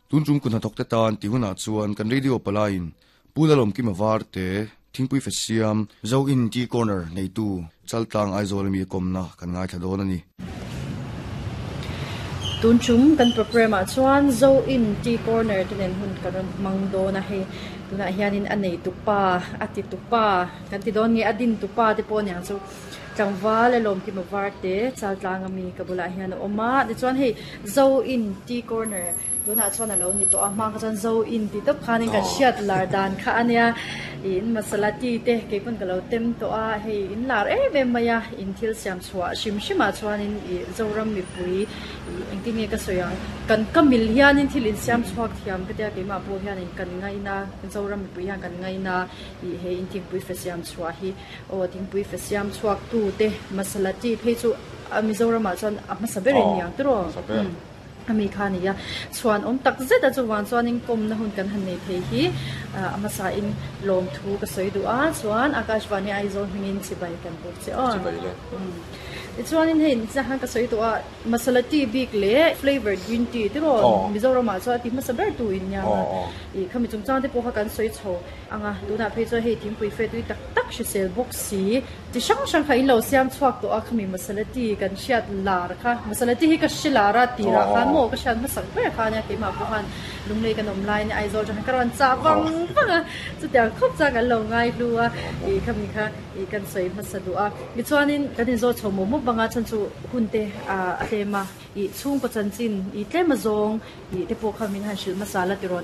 Tun tum kun hnathawk te tan tih hunah chuan kan radio palaiin Pu Lalawmkima Varte, Thingpui Fe Siam, Zo In Tea Corner neitu Chaltlang Aizawl ami a kawmna kan ngaithla dawn a ni. Tun tum kan programme ah chuan Zo In Tea Corner te nen hun kan rawn hmang dawn a, hei tunah hianin a nei tupa, a ti tupa kan ti dawn nge a din tupa te pawh aniang chu Tlangval a Lawmkima Varte Chaltlang ami ka bulah hian a awm a, tichuan hei Zo In Tea Corner Tunah chuan a lo ni tawh a, hma kha chuan Zo in ti tawp khanin kan hriat lar dan kha a nia. Ih in masala tea te kei pawn ka lo tem tawh a, hei in lar em em mai a, in thil siam chhuah hrim hrimah chuanin ih Zoram mipui ih engtin nge ka sawi ang, kan ka mil hianin thil in siam chhuak thiam ka tia keimah pawh hianin kan ngaina, Zoram mipui hian kan ngaina ih he in thingpui fe siam chhuah hi aw thingpui fe siam chhuak tu te masala tea phei chu Mizoramah chuan a hmasa ber in niang tiraw? A mi kha a ni a, chhuan awm tak zet a chuvang chuanin kawmna hun kan han nei thei hi a hmasain lawmthu ka sawi duh a, chuan Akashvani Aizawl hmingin chibai kan buk che aw. Chibai le. Tichuanin hei zah khan ka sawi duh a, masala tea bik leh flavoured green tea tiraw Mizoramah chuan a ti hmasa ber tu in nia a, ih khami chungchang te pawh kha kan sawi chho ang a, tunah phei chuan hei thingpui fe tui tak tak hrisel bawk si. Chi hrang hrang kha in lo siam chhuak tawh a, khami masala tea kan hriat lar kha, masala tea hi ka hre lar a tirah khan maw ka hriat hmasak ber kha ania keimah pawh khan Lunglei kan awm laiin Aizawl atang khan ka rawn chah vang vang a, chutiang khawp chuan kan lo ngai hlu a, ih khami kha ih kan sawi hmasa duh a. Tichuanin kan inzawt chho mawp mawp anga chhan chu hun te a tlem a, ih chhungkaw chanchin ih tlem azawng ih te pawh kha min han hrilh hmasa la tirawn.